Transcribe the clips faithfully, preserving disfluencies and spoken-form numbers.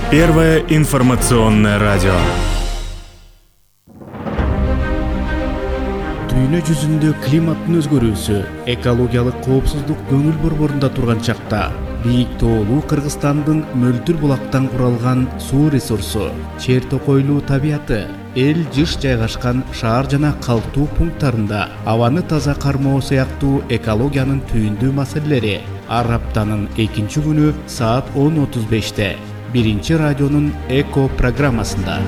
Первое информационное радио. Дүйнө жүзүндө климаттын өзгөрүүсү, экологиялык коопсуздук көңүл борборунда турган чакта бийик тоолуу Кыргызстандын мөлтүр булактан куралган суу ресурсу, чер токойлуу табияты, эл жыш жайгашкан шаар жана калктуу пункттарында абаны таза кармоо сыяктуу экологиянын түйүндүү маселелери ар аптанын экинчи күнү саат он отуз беште биринчи радионун Эко программасында.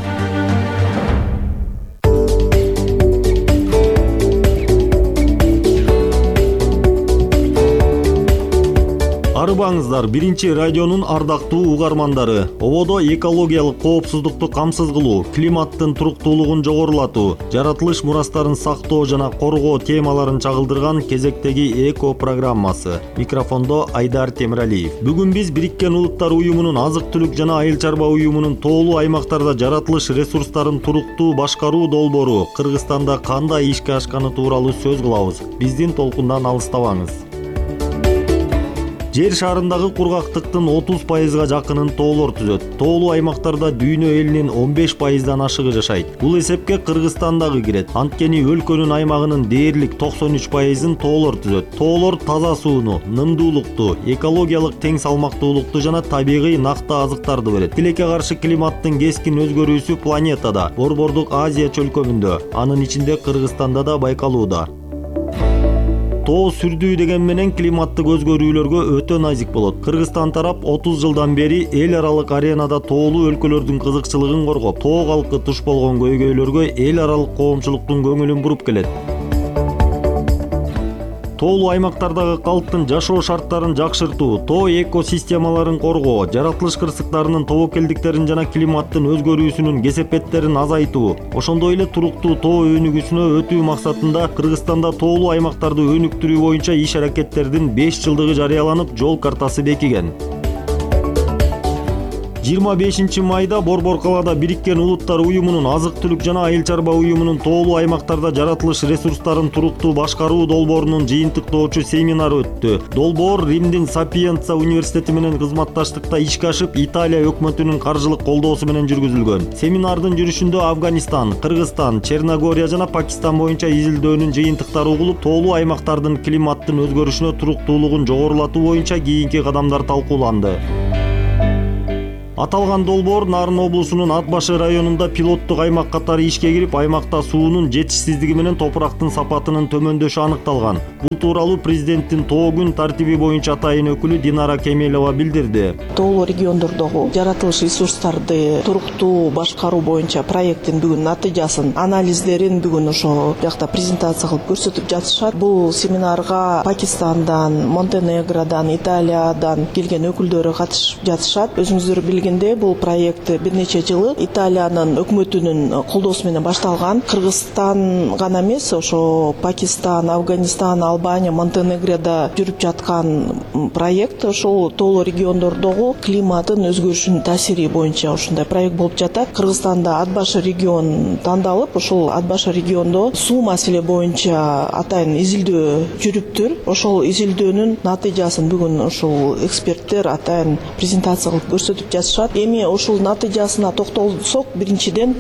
Арыбаңыздар, биринчи радионун ардактуу угармандары. Ободо экологиялык коопсуздукту камсыз кылуу, климаттын туруктуулугун жогорулатуу, жаратылыш мурастарын сактоо жана коргоо темаларын чагылдырган кезектеги Эко программасы. Микрофондо Айдар Темиралиев. Бүгүн биз Бириккен Улуттар уюмунун азык-түлүк жана айыл чарба уюмунун тоолуу аймактарда жаратылыш ресурстарын туруктуу башкаруу долбоору Кыргызстанда кандай ишке ашканы тууралуу сөз кылабыз. Биздин толкундан алыстабаңыз. Жер шарындагы кургактыктын отуз пайызга жакынын тоолор түзөт. Тоолуу аймактарда дүйнө элинин он беш пайыздан ашыгы жашайт. Бул эсепке Кыргызстан дагы кирет. Анткени өлкөнүн аймагынын дээрлик токсон үч пайызын тоолор түзөт. Тоолор таза сууну, нымдуулукту, экологиялык тең салмактуулукту жана табигый накта азыктарды берет. Тилекке каршы климаттын кескин өзгөрүүсү планетада, Борбордук Азия чөлкөмүндө, анын ичинде Кыргызстанда да байкалууда. Тоо сүрдүү деген менен климаттык өзгөрүүлөргө өтө назик болот. Кыргызстан тарап отуз жылдан бери эл аралык аренада тоолуу өлкөлөрдүн кызыкчылыгын коргоп, тоо калкы туш болгон көйгөйлөргө эл аралык коомчулуктун көңүлүн буруп келет. Тоолуу аймактардагы калктын жашоо шарттарын жакшыртуу, тоо экосистемаларын коргоо, жаратылыш кырсыктарынын тобокелдиктерин жана климаттын өзгөрүүсүнүн кесепеттерин азайтуу, ошондой эле туруктуу тоо өнүгүүсүнө өтүү максатында Кыргызстанда тоолуу аймактарды өнүктүрүү боюнча иш аракеттердин беш жылдыгы жарыяланып, жол картасы бекиген. жыйырма бешинчи майда Борбор калаада Бириккен Улуттар уюмунун азык-түлүк жана айыл чарба уюмунун тоолуу аймактарда жаратылыш ресурстарын туруктуу башкаруу долбоорунун жыйынтыктоочу семинары өттү. Долбоор Римдин Сапиенца университети менен кызматташтыкта ишке ашып, Италия өкмөтүнүн каржылык колдоосу менен жүргүзүлгөн. Семинардын жүрүшүндө Афганистан, Кыргызстан, Черногория жана Пакистан боюнча изилдөөнүн жыйынтыктары угулуп, тоолуу аймактардын климаттын өзгөрүшүнө туруктуулугун жогорулатуу боюнча кийинки кадамдар талкууланды. Аталган долбоор Нарын облусунун Ат башы районунда пилоттук аймак катары ишке кирип, аймакта суунун жетишсиздиги менен топурактын сапатынын төмөндөшү аныкталган. Бул тууралуу президенттин Тоо күн тартиби боюнча атайын өкүлү Динара Кемелова билдирди. Тоолуу региондордогу жаратылыш ресурстарды туруктуу башкаруу боюнча проекттин бүгүн натыйжасын, анализдерин бүгүн ошо жакта презентация кылып көрсөтүп жатышат. Бул семинарга Пакистандан, Монтенегродан, Италиядан келген өкүлдөрү катышып жатышат. Өзүңүздөр билген бул проект бир нече жылы Италиянын өкмөтүнүн колдоосу менен башталган. Кыргызстан гана эмес, ошо Пакистан, Афганистан, Албания, Монтенегрода жүрүп жаткан проект. Ошол тоолуу региондордогу климаттын өзгөрүшүнүн таасири боюнча ушундай проект болуп жатат. Кыргызстанда Ат башы регион тандалып, ошол Ат башы региондо суу маселе боюнча атайын изилдөө жүрүптүр. Ошол изилдөөнүн натыйжасын бүгүн ушул эксперттер атайын презентация кылып көрсөтүп жатышат. Эми ушул натыйжасына токтолсок, биринчиден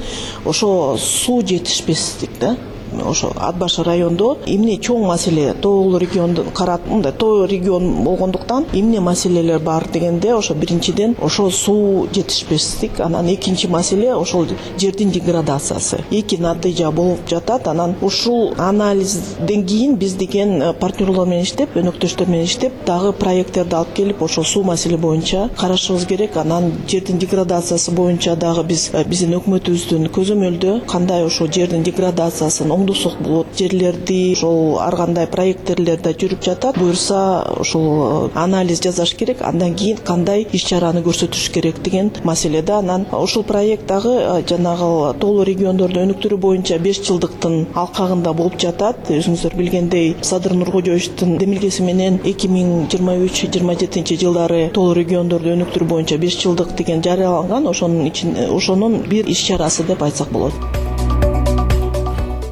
ошо суу жетишпестик да. Ошо Ат башы райондо эмне чоң маселе, тоолуу регионду карап, мындай тоо регион болгондуктан эмне маселелер бар дегенде, ошо биринчиден ошо суу жетишпестик, анан экинчи маселе ошол жердин деградациясы. Эки натыйжа болуп жатат. Анан ушул анализден кийин биз деген партнерлор менен иштеп, өнөктөштөр менен иштеп, дагы проекттерди алып келип, ошо суу маселе боюнча карашыбыз керек. Анан жердин деградациясы боюнча дагы биз биздин өкмөтүбүздүн көзөмөлдө кандай ошо жердин деградациясын оңдосок болот, жерлерди ошол ар кандай проекттерлер да жүрүп жатат. Буюрса ошол анализ жасаш керек, андан кийин кандай иш-чараны көрсөтүш керек деген маселеде. Анан ушул проект дагы жанагы тоолуу региондорду өнүктүрүү боюнча беш жылдыктын алкагында болуп жатат. Өзүңүздөр билгендей, Садыр Нуркожоевичтин демилгеси менен эки миң жыйырма үч жыйырма жетинчи жылдары тоолуу региондорду өнүктүрүү боюнча беш жылдык деген жарыяланган. Ошонун ичинде ошонун бир иш-чарасы деп айтсак болот.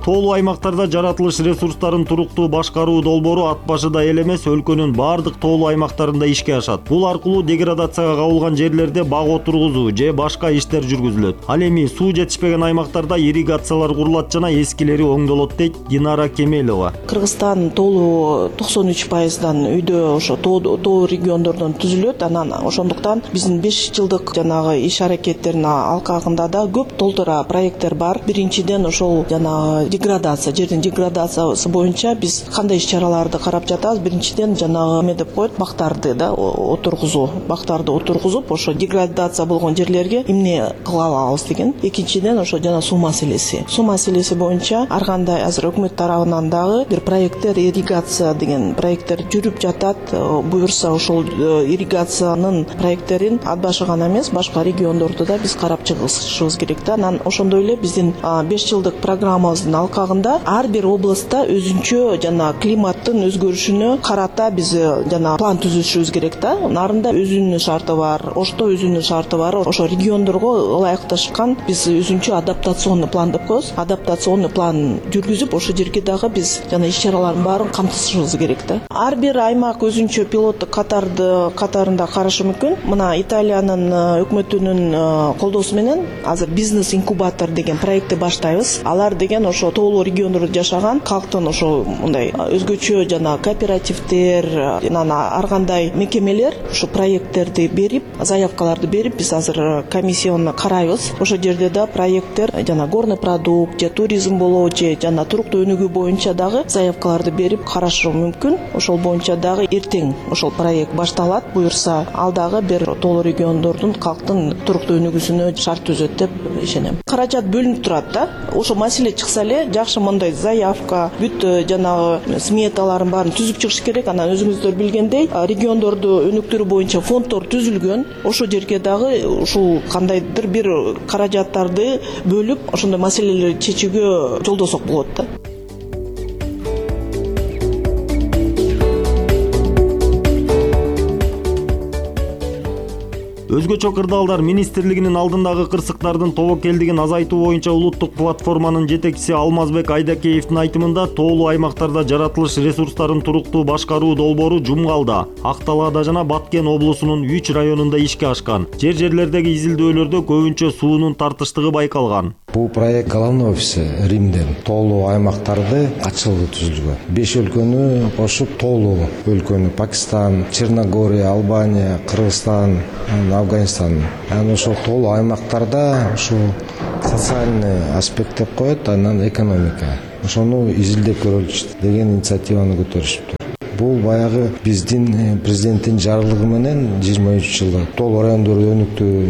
Тоолуу аймактарда жаратылыш ресурстарын туруктуу башкаруу долбоору ат башыда эле эмес, өлкөнүн бардык тоолуу аймактарында ишке ашат. Бул аркылуу деградацияга кабылган жерлерде бак отургузуу же башка иштер жүргүзүлөт. Ал эми суу жетишпеген аймактарда ирригациялар курулат жана эскилери оңдолот, дейт Динара Кемелова. Кыргызстан тоолуу токсон үч пайыздан үйдө ошо тоо региондордон түзүлөт. Анан ошондуктан биздин беш жылдык жанагы иш аракеттердин алкагында да көп толтура проекттер бар. Биринчиден ошол жанагы деградация, жердин деградациясы боюнча биз кандай иш-чараларды карап жатабыз? Биринчиден жанагы эме деп коет, бактарды да отургузуу, бактарды отургузуп, ошо деградация болгон жерлерге эмне кыла алабыз деген. Экинчиден ошо жана суу маселеси. Суу маселеси боюнча ар кандай азыр өкмөт тарабынан дагы бир проекттер, ирригация деген проекттер жүрүп жатат. Буюрса ошол ирригациянын проекттерин ат башы гана эмес, башка региондорду да биз карап чыгышыбыз керек да. Анан ошондой эле биздин беш жылдык программабыздын алкагында ар бир областта өзүнчө жана климаттын өзгөрүшүнө карата биз жана план түзүшүбүз керек да. Нарында өзүнүн шарты бар, Ошто өзүнүн шарты бар. Ошо региондорго ылайыкташкан биз өзүнчө адаптационный план деп коебуз. Адаптационный план жүргүзүп, ошо жерге дагы биз жана иш-чаралардын баарын камтышыбыз керек да. Ар бир аймак өзүнчө пилоттук катарды катарында карашы мүмкүн. Мына Италиянын өкмөтүнүн колдоосу менен азыр бизнес инкубатор деген проектти баштайбыз. Алар деген ошо тоолуу региондордо жашаган калктын ошо мындай өзгөчө жана кооперативдер, анан ар кандай мекемелер ошо проекттерди берип, заявкаларды берип, биз азыр комиссионно карайбыз. Ошо жерде да проекттер жана горный продукт, же туризм болобу, же жана туруктуу өнүгүү боюнча дагы заявкаларды берип карашы мүмкүн. Ошол боюнча дагы эртең ошол проект башталат. Буюрса, ал дагы бир тоолуу региондордун калктын туруктуу өнүгүүсүнө шарт түзөт деп ишенем. Каражат бөлүнүп турат да. Ошо маселе чыкса эле жакшы мондай заявка, бүт жанагы сметаларын баарын түзүп чыгыш керек. Анан өзүңүздөр билгендей, региондорду өнүктүрүү боюнча фонддор түзүлгөн. Ошо жерге дагы ушул кандайдыр бир каражаттарды бөлүп, ошондой маселелерди чечүүгө жолдосок болот да. Өзгөчө кырдаалдар министрлигинин алдындагы кырсыктардын тобокелдигин азайтуу боюнча улуттук платформанын жетекчиси Алмазбек Айдакеевдин айтымында тоолуу аймактарда жаратылыш ресурстарын туруктуу башкаруу долбоору Жумгалда, Акталаада жана Баткен облусунун үч районунда ишке ашкан. Жер-жерлердеги изилдөөлөрдө көбүнчө суунун тартыштыгы байкалган. Бул проект головной офиси Римден тоолуу аймактарды катчылыгы түзүлгөн. беш өлкөнү кошуп тоолуу өлкөнү Пакистан, Черногория, Албания, Кыргызстан, Афганистан. Анан ошол тоолуу аймактарда ушул социальный аспект деп коет, анан экономика. Ошону изилдеп көрөлүчү деген инициативаны көтөрүшүптүр. Бул баягы биздин президенттин жарлыгы менен жыйырма үч жылда тоолуу райондорду өнүктүү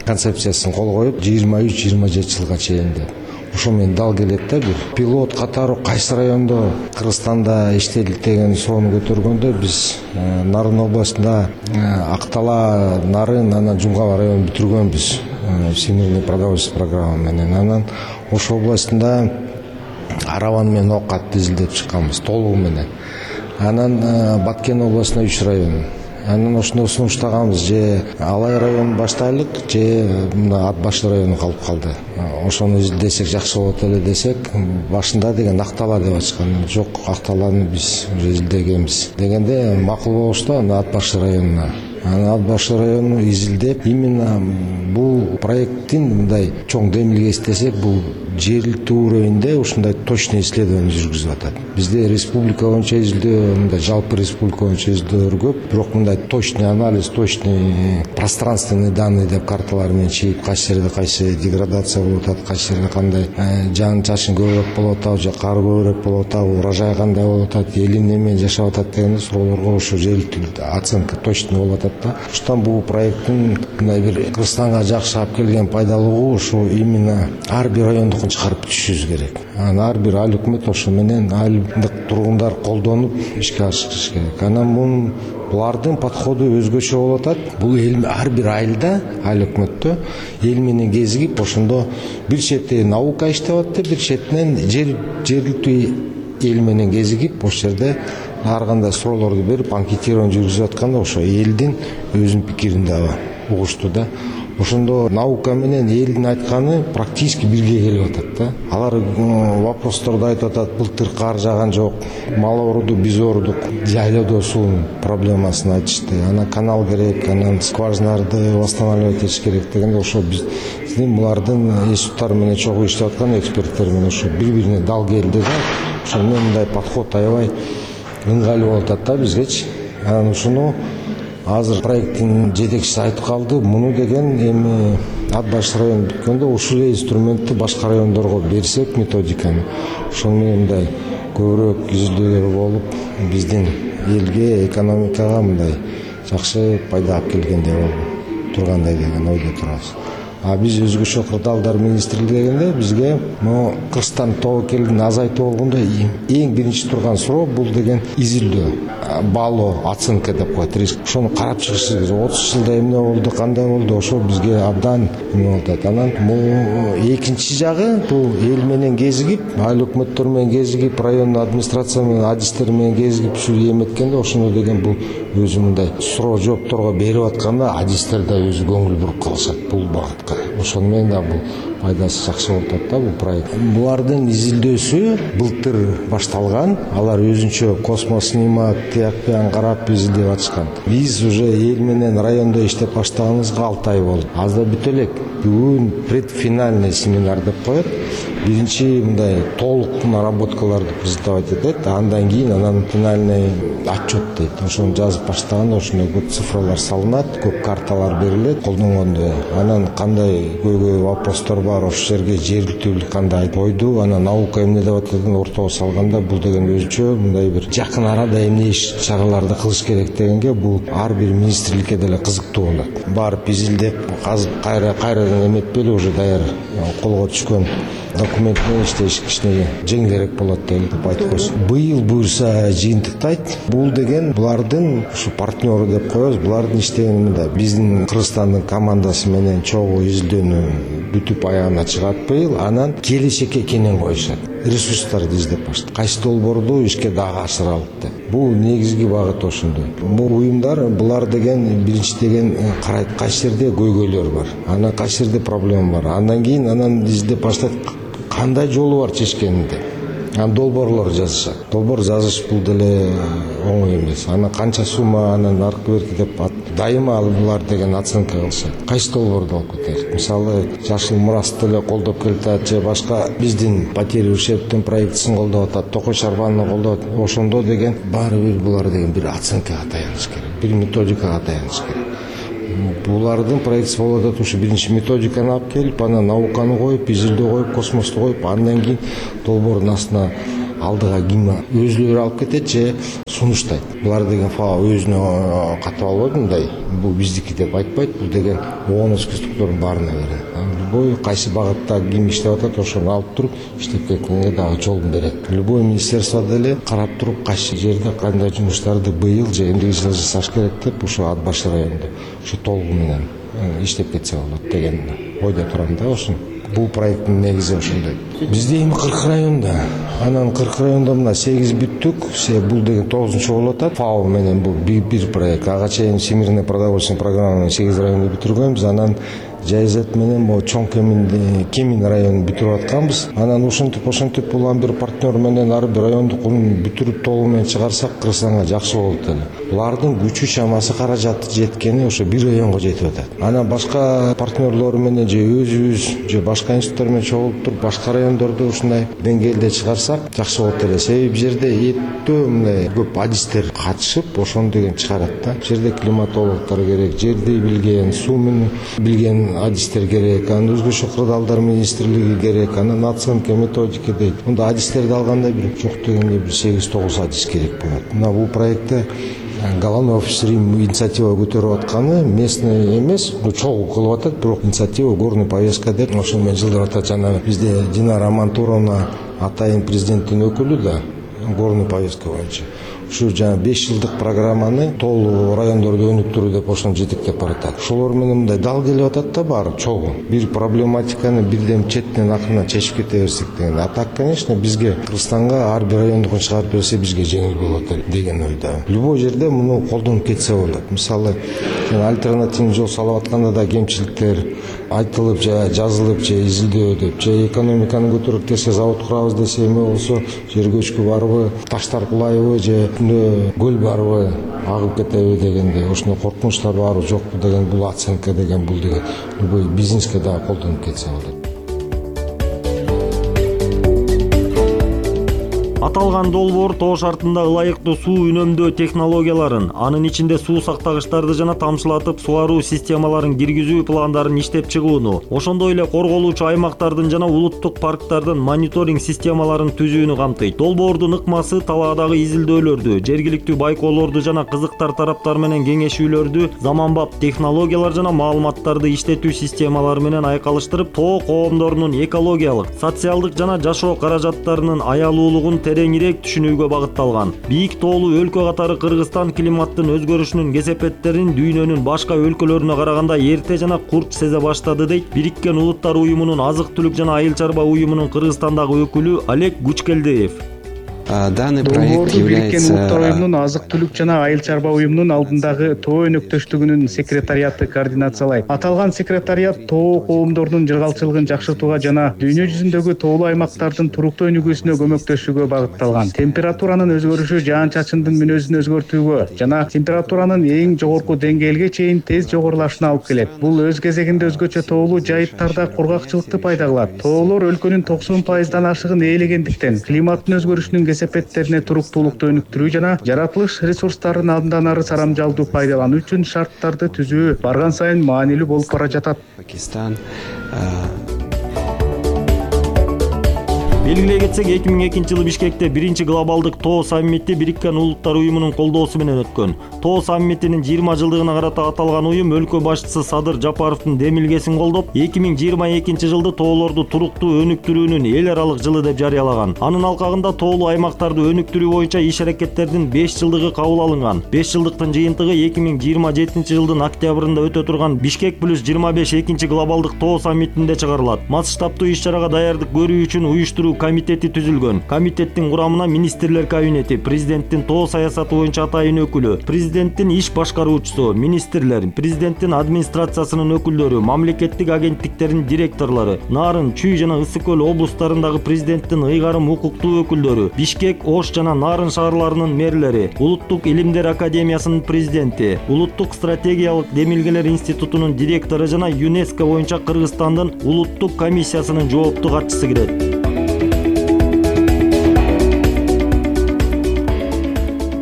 концепциясын кол коюп, жыйырма үч жыйырма жети жылга чейин деп. Ошо менен дал келет да бир пилот катары кайсы райондо Кыргызстанда иштелет деген соону көтөргөндө биз Нарын областында Актала, Нарын, анан Жумгал районун бүтүргөнбүз всемирный продовольственный программа менен. Анан ошол областында Араван менен Окатты изилдеп чыкканбыз толугу менен. Анан Баткен областына үч район. Анан ошондо сунуштаганбыз, же Алай районун баштайлык, же мына Ат башы району калып калды. Ошону изилдесек жакшы болот эле десек, башында деген Актала деп ачкан. Жок, Акталаны биз уже изилдегенбиз дегенде макул болушту, аны Ат башы районуна. Анан Ат башы районуну изилдеп, именно бул проекттин мындай чоң демилге истесек, бул жергиликтүү уровеньде ушундай точный исследование жүргүзүп атат. Бизде республика боюнча изилдөө, мындай жалпы республика боюнча изилдөөлөр көп, бирок мындай точный анализ, точный пространственный данные деп карталар менен чийип, кайсы жерде кайсы деградация болуп атат, кайсы жерде кандай жаан-чачын көбүрөөк болуп атабы, же кар көбүрөөк болуп атабы, урожай кандай болуп атат, эл эмне менен жашап атат дегенде суроолорго ошо жергиликтүү оценка точный болуп атат да. Ошондон бул проекттин мындай бир Кыргызстанга жакшы алып келген пайдалуулугу ошо именно ар бир райондук чыгарып түшүбүз керек. Анан ар бир айыл өкмөт ошо менен айылдык тургундар колдонуп ишке ашырыш керек. Анан мунун булардын подходу өзгөчө болуп атат. Бул эл ар бир айылда, айыл өкмөттө эл менен кезигип, ошондо бир чети наука иштеп атты, бир четинен жер жергиликтүү эл менен кезигип, ошол жерде ар кандай суроолорду берип, анкетирование жүргүзүп атканда ошо элдин өзүнүн пикирин дагы угушту да. Ошондо наука менен элдин айтканы практически бирге келип атат да. Алар вопросторду айтып атат, былтыр кар жааган жок, мал ооруду, биз оорудук, жайлоодо суунун проблемасын айтышты. Ана канал керек, анан скважиналарды восстанавливать этиш керек дегенде, ошо биздин булардын институттары менен чогуу иштеп аткан эксперттер менен ошо бири-бирине дал келди да. Ошо мындай подход аябай ыңгайлуу болуп атат да бизгечи. Анан ушуну азыр проекттин жетекчиси айтып калды, муну деген эми Ат Баш району бүткөндө ушул инструментти башка райондорго берсек методиканы, ошол менен мындай көбүрөөк изилдөөлөр болуп, биздин элге, экономикага мындай жакшы пайда алып келгендей болуп тургандай деген ойдо турабыз. А биз өзгөчө кырдаалдар министрлиги дегенде бизге могу Кыргызстан тобокелин азайтуу болгондо эң биринчи турган суроо бул деген изилдөө, баалоо, оценка деп коет, риск. Ошону карап чыгыш керек. отуз жылда эмне болду, кандай болду, ошо бизге абдан эме болуп атат. Анан бул экинчи жагы, бул эл менен кезигип, айыл өкмөттөр менен кезигип, район администрация менен, адистер менен кезигип ушу эметкенде ошону деген бул өзү мындай суроо жоопторго берип атканда адистер да өзү көңүл буруп калышат бул багытка. Ошону менен да бул пайдасы жакшы болуп атат да бул проект. Булардын изилдөөсү былтыр башталган. Алар өзүнчө космос снимок, тиякпен карап изилдеп атышкан. Биз уже эл менен райондо иштеп баштаганыбызга алты ай болду. Азда бүтө элек. Бүгүн предфинальный семинар деп коет. Биринчи мындай толук наработкаларды презентовать этет, андан кийин анан финальный отчет дейт. Ошону жазып баштаганда ошондой көп цифралар салынат, көп карталар берилет колдонгондо. Анан кандай көйгөй вопростор бар, ошол жерге жергиликтүүлүк кандай койду, анан наука эмне деп ататын ортого салганда бул деген өзүнчө мындай бир жакын арада эмне иш чараларды кылыш керек дегенге бул ар бир министрликке деле кызыктуу болот. Барып изилдеп, казып кайра кайрадан эметпели уже даяр колго түшкөн документ менен иштеш кичине жеңилирээк болот деп айтып койсун. Быйыл буюрса жыйынтыктайт. Бул деген булардын ушу партнеру деп коебуз. Булардын иштегени мында биздин Кыргызстандын командасы менен чогуу изилдөөнү бүтүп аягына чыгат быйыл. Анан келечекке кенен коюшат. Ресурстарды издеп баштайт. Кайсы долбоорду ишке дагы ашыралык деп. Бул негизги багыт ошондой. Бул уюмдар булар деген биринчи деген карайт кайсы жерде көйгөйлөр бар. Анан кайсы жерде проблема бар. Андан кийин анан издеп баштайт кандай жолу бар чечкенинде. Анан долбоорлор жазышат. Долбоор жазыш бул деле оңой эмес. Анан канча сумма, анан аркы берки деп дайыма алар деген оценка кылышат. Кайсы долбоорду алып кетет? Мисалы, Жашыл Мурас деле колдоп келатат же башка биздин потери ущербтин проектисин колдоп атат, Токой Шарбанны колдоп атат. Ошондо деген баары бир булар деген бир оценкага таяныш керек, бир методикага таяныш керек. Булардын проектиси болуп атат, ушу биринчи методиканы алып келип, анан науканы коюп, изилдөө коюп, космосту коюп, андан кийин долбоордун астына алдыга ким өзүлөрү алып кетет же сунуштайт. Булар деген фао өзүнө катып албайт мындай. Бул биздики деп айтпайт, бул деген оон спецтуктардын баарына берет. Любой кайсы багытта ким иштеп атат, ошону алып туруп иштеп кеткенге дагы жолун берет. Любой министерство деле карап туруп кайсы жерде кандай жумуштарды быйыл же эмдиги жылы жасаш керек деп ушу Ат Баш районунда ушу толугу менен иштеп кетсе болот деген ойдо турам да ошону. Бул проекттин негизи ошондой. Бизде эми кырк районда, анан кырк районда мына сегиз бүттүк, бул деген тогузунчу болуп атат. ФАО менен бул бир проект. Ага чейин Всемирный продовольственный программаны сегиз районда бүтүргөнбүз, анан Жайзет менен могу чоң Кемин Кемин районун бүтүрүп атканбыз. Анан ошентип ошентип улам бир партнер менен ар бир райондукун бүтүрүп толугу менен чыгарсак Кыргызстанга жакшы болот эле. Булардын күчү чамасы каражаты жеткени ошо бир районго жетип атат. Анан башка партнерлор менен же өзүбүз же башка институттар менен чогулуп туруп башка райондорду ушундай деңгээлде чыгарсак жакшы болот эле. Себеби бул жерде эптөө мындай көп адистер катышып ошону деген чыгарат да. Бул жерде климатологдор керек, жерди билген, сууну билген адистер керек, анан өзгөчө кырдаалдар министрлиги керек, анан оценка, методика дейт. Мында адистерди алганда бир жок дегенде бир сегиз тогуз адис керек болот. Мына бул проектте Головной офис Рим инициатива көтөрүп атканы местный эмес, чогуу кылып атат, бирок инициатива горный повестка деп ошону менен жылдырып атат. Жана бизде Динара Мантуровна атайын президенттин өкүлү да горный повестка боюнча. ушу жана беш жылдык программаны тоолуу райондордо өнүктүрүү деп ошону жетектеп баратат. Ошолор менен мындай дал келип атат да баары чогуу. Бир проблематиканы бирден четтен акырына чечип кете берсек деген. А так, конечно, бизге Кыргызстанга ар бир райондукун чыгарып берсе бизге жеңил болот деген ойдо. Любой жерде муну колдонуп кетсе болот. Мисалы, альтернативный жол салып атканда да кемчиликтер айтылып же жазылып же изилдөө деп, же экономиканы көтөрүп десе завод курабыз десе эме болсо жер көчкү барбы, таштар кулайбы же көл барбы, агып кетеби дегенде ошондой коркунучтар барбы жокпу деген бул оценка деген бул деген любой бизнеске да колдонуп кетсе болот. Аталган долбоор тоо шартында ылайыктуу суу үнөмдөө технологияларын, анын ичинде суу сактагычтарды жана тамчылатып суаруу системаларын киргизүү пландарын иштеп чыгууну, ошондой эле корголуучу аймактардын жана улуттук парктардын мониторинг системаларын түзүүнү камтыйт. Долбоордун ыкмасы талаадагы изилдөөлөрдү, жергиликтүү байкоолорду жана кызыктар тараптар менен кеңешүүлөрдү заманбап технологиялар жана маалыматтарды иштетүү системалары менен айкалыштырып, тоо коомдорунун экологиялык, социалдык жана жашоо каражаттарынын аялуулугун тереңирээк түшүнүүгө багытталган. Бийик тоолуу өлкө катары Кыргызстан климаттын өзгөрүшүнүн кесепеттерин дүйнөнүн башка өлкөлөрүнө караганда эрте жана курч сезе баштады дейт Бириккен Улуттар уюмунун азык-түлүк жана айыл чарба уюмунун Кыргызстандагы өкүлү Олег Гучкелдиев. Данный проект Бириккен является... Улуттар уюмунун азык-түлүк жана айыл чарба уюмунун алдындагы тоо өнөктөштүгүнүн секретариаты координациялайт. Аталган секретариат тоо коомдорунун жыргалчылыгын жакшыртууга жана дүйнө жүзүндөгү тоолуу аймактардын туруктуу өнүгүүсүнө көмөктөшүүгө багытталган. Температуранын өзгөрүшү жаан-чачындын мүнөзүн өзгөртүүгө жана температуранын эң жогорку деңгээлге чейин тез жогорулашына алып келет. Бул өз кезегинде өзгөчө тоолуу жайыттарда кургакчылыкты пайда кылат. Тоолор өлкөнүн токсон пайыздан ашыгын ээлегендиктен климаттын өзгөрүшүнүн кесепеттерине туруктуулукту өнүктүрүү жана жаратылыш ресурстарын андан ары сарамжалдуу пайдалануу үчүн шарттарды түзүү барган сайын маанилүү болуп бара жатат. Пакистан Белгилей кетсек, эки миң экинчи жылы Бишкекте биринчи глобалдык тоо саммити Бириккен Улуттар уюмунун колдоосу менен өткөн. Тоо саммитинин жыйырма жылдыгына карата аталган уюм өлкө башчысы Садыр Жапаровдун демилгесин колдоп, эки миң жыйырма экинчи жылды тоолорду туруктуу өнүктүрүүнүн эл аралык жылы деп жарыялаган. Анын алкагында тоолуу аймактарды өнүктүрүү боюнча иш-аракеттердин беш жылдыгы кабыл алынган. беш жылдыктын жыйынтыгы эки миң жыйырма жетинчи жылдын октябрында өтө турган Бишкек плюс жыйырма беш экинчи глобалдык тоо саммитинде чыгарылат. Масштабтуу иш-чарага даярдык көрүү үчүн уюштуруу комитети түзүлгөн. Комитеттин курамына министрлер кабинети, президенттин тоо саясаты боюнча атайын өкүлү, президенттин иш башкаруучусу, министрлер, президенттин администрациясынын өкүлдөрү, мамлекеттик агенттиктердин директорлору, Нарын, Чүй жана Ысык көл облустарындагы президенттин ыйгарым укуктуу өкүлдөрү, Бишкек, Ош жана Нарын шаарларынын мэрлери, Улуттук илимдер академиясынын президенти, Улуттук стратегиялык демилгелер институтунун директору жана ЮНЕСКО боюнча Кыргызстандын улуттук комиссиясынын жооптуу катчысы кирет.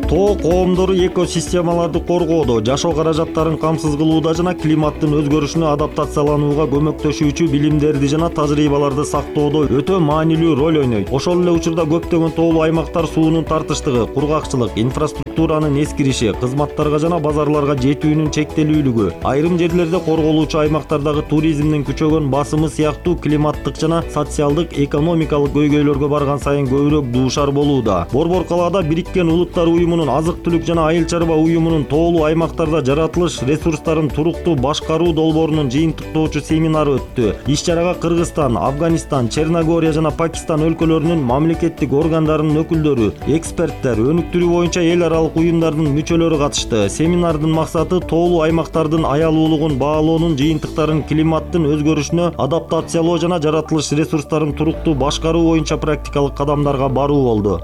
Тоо коомдору экосистемаларды коргоодо, жашоо каражаттарын камсыз кылууда жана климаттын өзгөрүшүнө адаптацияланууга көмөктөшүүчү билимдерди жана тажрыйбаларды сактоодо өтө маанилүү роль ойнойт. Ошол эле учурда көптөгөн тоолуу аймактар суунун тартыштыгы, кургакчылык, инфраструктуранын эскириши, кызматтарга жана базарларга жетүүнүн чектелүүлүгү, айрым жерлерде корголуучу аймактардагы туризмдин күчөгөн басымы сыяктуу климаттык жана социалдык, экономикалык көйгөйлөргө барган сайын көбүрөөк дуушар болууда. Борбор калаада Бириккен Улуттар уюмунун азык-түлүк жана айыл чарба уюмунун тоолуу аймактарда жаратылыш ресурстарын туруктуу башкаруу долбоорунун жыйынтыктоочу семинары өттү. Иш-чарага Кыргызстан, Афганистан, Черногория жана Пакистан өлкөлөрүнүн мамлекеттик органдарынын өкүлдөрү, эксперттер, өнүктүрүү боюнча эл аралык уюмдардын мүчөлөрү катышты. Семинардын максаты тоолуу аймактардын аялуулугун баалоонун жыйынтыктарын климаттын өзгөрүшүнө адаптациялоо жана жаратылыш ресурстарын туруктуу башкаруу боюнча практикалык кадамдарга баруу болду.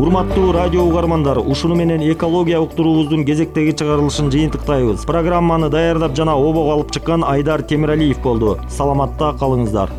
Урматтуу радио угармандар, ушуну менен экология уктуруубуздун кезектеги чыгарылышын жыйынтыктайбыз. Программаны даярдап жана обого алып чыккан Айдар Темиралиев болду. Саламатта калыңыздар.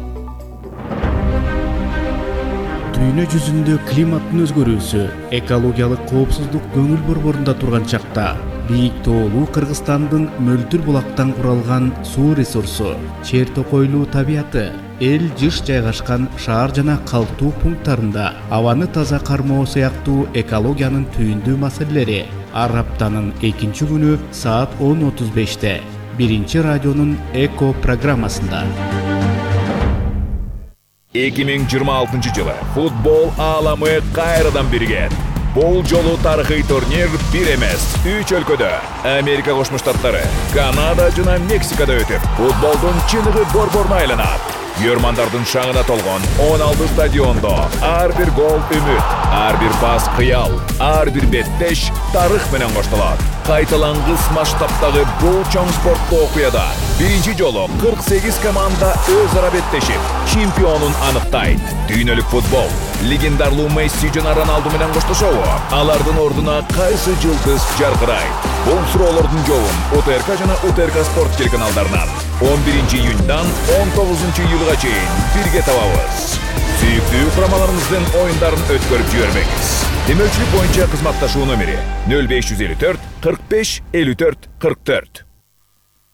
Дүйнө жүзүндө климаттын өзгөрүүсү, экологиялык коопсуздук көңүл борборунда турган чакта бийик тоолуу Кыргызстандын мөлтүр булактан куралган суу ресурсу, чер токойлуу табияты, эл жыш жайгашкан шаар жана калктуу пункттарында абаны таза кармоо сыяктуу экологиянын түйүндүү маселелери ар аптанын экинчи күнү саат он отуз беште биринчи радионун Эко программасында. эки миң жыйырма алтынчы жылы футбол ааламы кайрадан биригет. Бул жолу тарыхый турнир бир эмес, үч өлкөдө, Америка Кошмо Штаттары, Канада жана Мексикада өтүп, футболдун чыныгы борборуна айланат. Көрмандардын шаңына толгон он алты стадиондо ар бир гол үмүт, ар бир пас кыял, ар бир беттеш тарых менен коштолот. Кайталангыс масштабтагы бул чоң спорттуу окуяда биринчи жолу кырк сегиз команда өз ара беттешип, чемпионун аныктайт. Дүйнөлүк футбол легендарлуу Месси жана Роналду менен коштошобу? Алардын ордуна кайсы жылдыз жаркырайт? Бул суроолордун жообун УТРК жана УТРК спорт телеканалдарынан он биринчи июньдан он тогузунчу июлга чейин бирге табабыз. Сүйүктүү курамаларыңыздын оюндарын өткөрүп жибербеңиз. Демөөлчүлүк боюнча кызматташуу номери нөл беш жүз элүү төрт кырк беш элүү төрт кырк төрт.